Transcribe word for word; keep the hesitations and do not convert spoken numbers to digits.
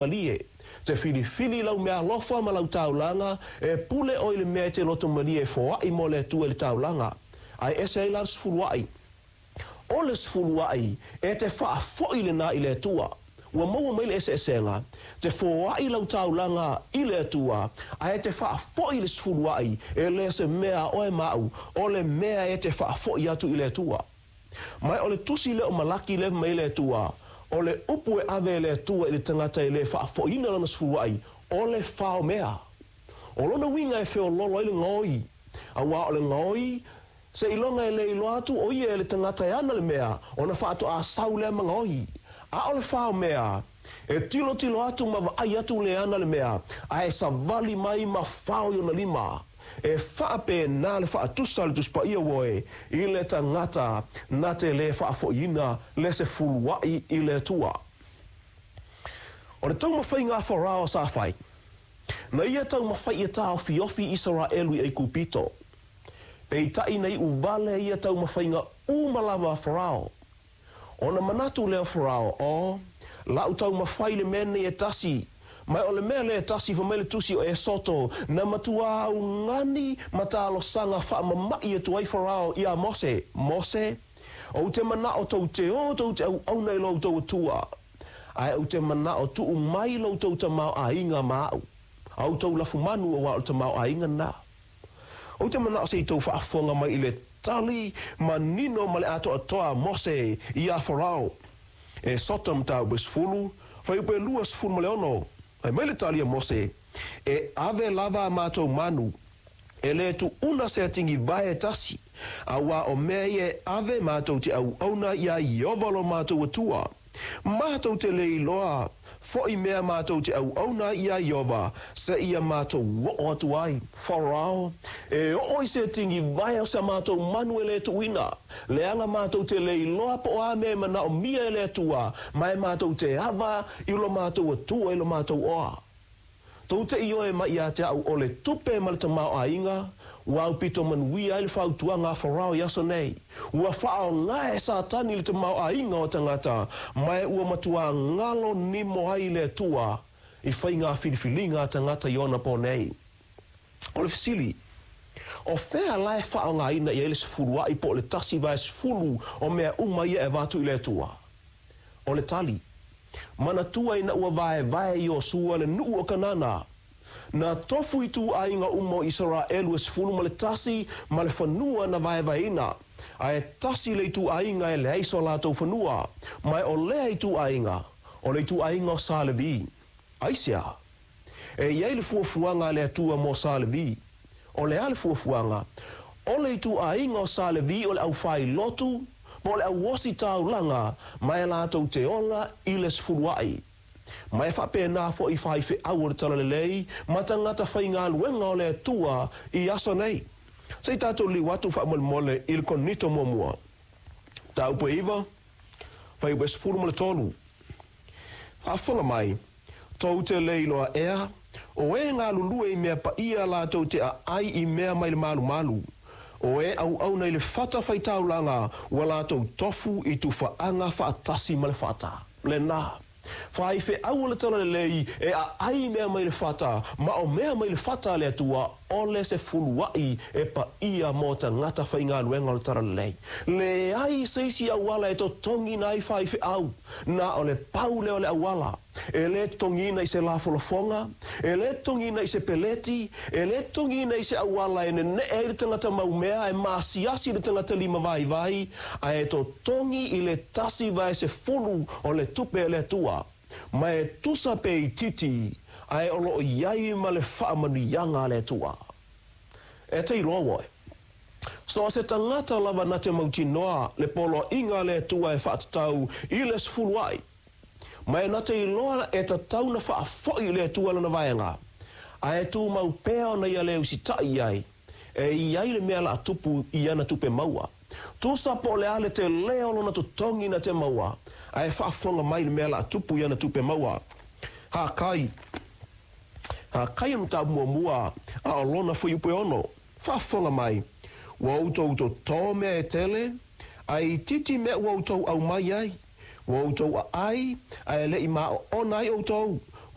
Malie, te filifili lau meaalofa ma lau taulaga, e pule oe i le mea e te loto malie e foai mo le Atua i le taulaga. Ae ese ai la le sefuluai. O le sefuluai, e te faafoi lena i le Atua. Ua maua mai le eseesega, te foai lau taulaga i le Atua, ae te faafoi le sefuluai, e le o se mea a oe ma au, o le mea e te faafoi atu i le Atua. Ma o le tusi lea o Malaki lea fai mai le Atua, o le upu e ave e le Atua i le tagata e le faafoiina lana sefuluai, o le faomea. O lona uiga e feololo ai le gaoi, auā o le gaoi, seiloga e le iloa atu o ia e le tagata e ana le mea, ona faatoa sau lea ma gaoi. A o le faomea, e tilotilo atu ma vaai atu le ana le mea, ae savali mai ma fao i ona lima. E faapena le faatusa a le Tusi Paia uoe i le tagata na te le faafoiina le sefuluai i le Atua. O le taumafaiga a Farao sa fai, na ia taumafai ia taofiofi Isaraelu i Aikupito. Peitai na iu vale ia taumafaiga uma lava a Farao. Ona manatu lea o Farao, O la'u taumafai le mea lenei e tasi, ma o le mea lea e tasi, fai mai le tusi o Esoto, na matuā augani ma talosaga faamama'i atu ai Farao iā Mose, Mose, ou te mana'o tou te o tou te auauna i lo outou Atua, ae ou te mana'o tuu mai lo outou tamaoaiga ma a'u, a outou lafumanu, auā o le tamaoaiga lena. Ou te mana'o se i tou faafofoga mai i le tali manino ma le atoatoa a Mose iā Farao. Esoto mataupu e sefulu, fuaiupu e luasefulu ma le ono. Fai mai le tali a Mose, E ave lava a matou manu, e lē tuuna se atigivae e tasi, auā o mea ia e ave matou te auauna iā Ieova lo matou Atua. Matou te le iloa foʻi mea matou te auauna ai iā Ieova, seia matou oo atu ai. Farao, E oo i se atigivae o sa matou manu e lē tuuina, leaga matou te le iloa po o a mea e manaomia e le Atua, ma e matou te ava i lo matou Atua i lo matou oa. Tou te ioe mai ia te a'u o le tupe ma le tamaoaiga ua aupito manuia ai le fautuaga a Farao i aso nei. Ua faaaoga e Satani le tamaoaiga o tagata, ma e ua matuā galo nimo ai le Atua i faiga filifiliga a tagata i ona pō nei. O le fesili, O fea la e faaaogaina i ai le sefuluai po o le tasi vae sefulu o mea uma ia e avatu i le Atua? O le tali, Manatua ina ua vaevae Iosua le nuu o Kanana, na tofu ituaiga uma o Isaraelu e sefulu ma le tasi ma le fanua na vaevaeina, ae tasi le ituaiga e leai so latou fanua, ma o lea ituaiga, o le ituaiga o Sa Levi. Aisea? E i ai le fuafuaga a le Atua mo Sa Levi. O le a le fuafuaga? O le ituaiga o Sa Levi o le aufailotu, po o le auositaulaga, ma e latou te ola i le sefuluai. Ma e faapena foi i faifeau o le Talalelei ma tagata faigaluega o le Atua i aso nei. Se i tatou liliu atu faamolemole i le Korinito muamua, mataupu e iva, fuaiupu e sefulu ma le tolu. Faafofoga mai, Tou te le iloa ea, o e galulue i mea paia latou te aai i mea mai le malumalu, o e auauna i le fata faitaulaga ua latou tofu i tufaaga faatasi ma le fata. Lena. Faifeau o le Talalelei e aai mea mai le fata, ma o mea mai le fata a le Atua, o le sefuluai e paia mo tagata faigaluega o le Talalelei. Leai se isi auala e totogiina ai faifeau, na o le pau lea o le auala. E lē totogiina i se lafolafoga, e lē totogiina i se peleti, e lē totogiina i se auala e neneʻe ai le tagata maumea, e maasiasi le tagata limavaivai, ae totogi i le tasi vae sefulu o le tupe a le Atua, ma e tusa pe itiiti, ae o lo o i ai ma le faamanuiaga a le Atua. E te iloa uoe, so o se tagata lava na te mautinoa le poloaiga a le Atua e faatatau i le sefuluai, Ma e na te iloa e tatau na faafoi i le Atua lana vaega, ae tumau pea ona ia le usitai i ai, e i ai le mea la tupu i ana tupe maua. Tusa po o le a le telē o lona totogi na te maua, ae faafofoga mai le mea la tupu i ana tupe maua. Hakai, Hakai o le mataupu muamua, a o lona fuaiupu e ono. Faafofoga mai, ua outou totō mea e tele, ae itiiti mea ua outou aumai ai. Ua outou aai, ae le i maoona ai outou.